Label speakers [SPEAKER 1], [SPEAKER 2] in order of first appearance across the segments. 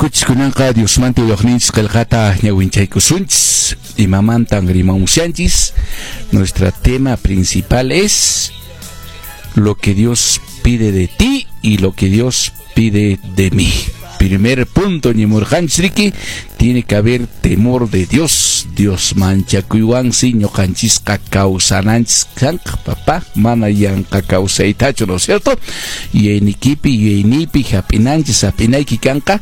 [SPEAKER 1] Hakuchis kunanqa Diosmanta willaqninchis qillqata ñawinchaykusunchis. Imamantan rimamushanchis. Nuestra tema principal es lo que Dios pide de ti y lo que Dios pide de mí. Primer punto, ñimurqanchis riki, tiene que haber temor de Dios. Dios manchakuywansi ñuqanchisqa kawsananchis kanqa, papá, mana yanqa kawsaytachu, ¿no es cierto? Yuyaynikipi, yuyayniypi hap'inanchis, hap'inayki kanqa,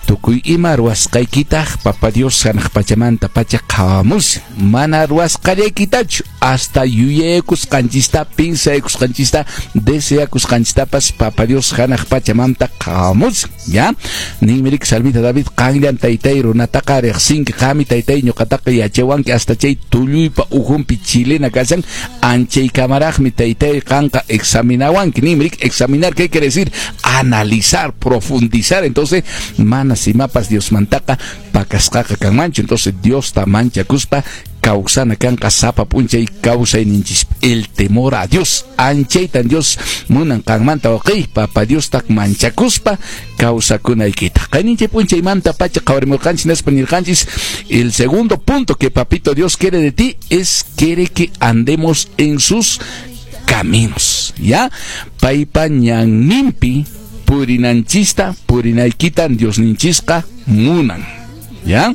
[SPEAKER 1] tukuy ima ruwasqaykitaq Papa Dios hanaq pachamanta pacha qhawamushan, mana ruwasqallaykitachu, hasta yuyaykusqanchista, piensaykusqanchista, deseakusqanchistapas Papa Dios hanaq pachamanta qhawamushan, ya? Ninmi riki salmista David, qanllan taytay runataqa riqsinki, qami taytay ñuqataqa yachawanki, hasta chay tulluypa ujunpi chilena kashan, anchaykamaraqmi taytay qanqa examinawanki. Ninmi riki, examinar, ¿qué quiere decir? Analizar, profundizar. Entonces, mana imapas Diosmantaqa pakasqaqa kanmanchu. Entonces, Diosta manchakuspa kawsana kanqa sapa p'unchay kawsayninchis. El temor a Dios, anchaytan Dios munan qanmanta, wawqiy, Papa Diosta manchakuspa kawsakunaykita. Qayninchik p'unchaymanta pacha qhawarimurqanchis, nispa nirqanchis, el segundo punto que Papito Dios quiere de ti es quiere que andemos en sus caminos, ¿ya? Paypa ñanninpi purinanchista, purinaykitan Diosninchisqa munan, ¿ya?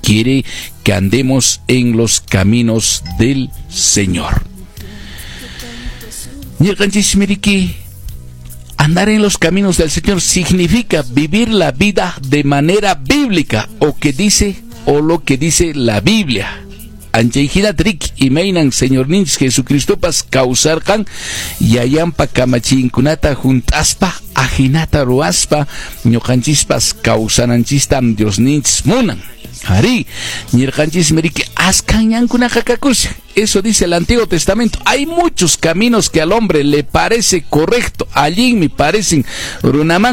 [SPEAKER 1] Quiere que andemos en los caminos del Señor. Nirqanchismi riki, andar en los caminos del Señor significa vivir la vida de manera bíblica, o que dice, o lo que dice la Biblia. Anchayhinata riki, imaynan Señorninchis Jesucristopas kawsarqan, yayanpa kamachiyninkunata hunt'aspa, ajinata ruwaspa, ñuqanchispas kawsananchistam Diosninchis munan. Arí, nirqanchismi riki, askan ñankunaqa kakushan. Eso dice el Antiguo Testamento. Hay muchos caminos que al hombre le parece correcto, allinmi parecen runaman.